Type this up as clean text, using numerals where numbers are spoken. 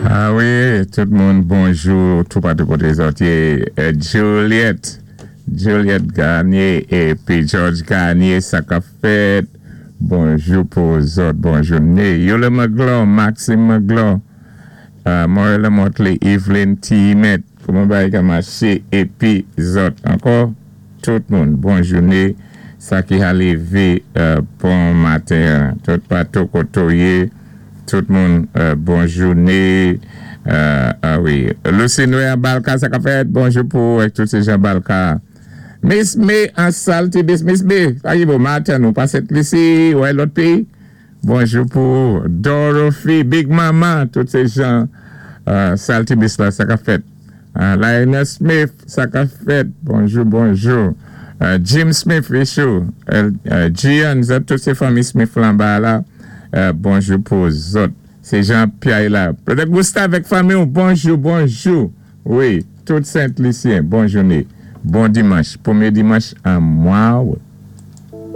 Ah wi, tout moun bonjou toupatou koté zòt yé. Juliette, Juliette Garnier épi George Garnier, sa k-ap fèt? Bonjou pou zòt, bon jouné. Yola Magloire, Maxime Magloire, Morella Motley, Evelyn T. Kouman bagay ka maché épi zòt ankò, tout moun bon jouné, sa ki ha lévé bon maten an, tout patou koté w yé, tout moun bon jouné. Ah wi, Lucy Noé an Balka, sa k-ap fèt? Bonjou pou ou ak tout sé jan Balka. Miss May an Saltibus, Miss May, sa ki bon maten, ou pa Sent Lisi, ou ay lòt péyi? Bonjou pou ou Dorothy, Big Mama, tout sé jan Saltibus la, sa k-ap fèt? Lionel Smith, sa k-ap fèt? Bonjou, bonjou. Jim Smith, Richou, Gian, zòt tout sé fanmi Smith la anba a la, bonjou pou zòt. Se jan Pyay la. Brother Gustave ak fanmi w, bonjou, bonjou. Wi, tout Sent Lisyen, bon jouné. Bon dimanch, pwémyé dimanch an mwa out.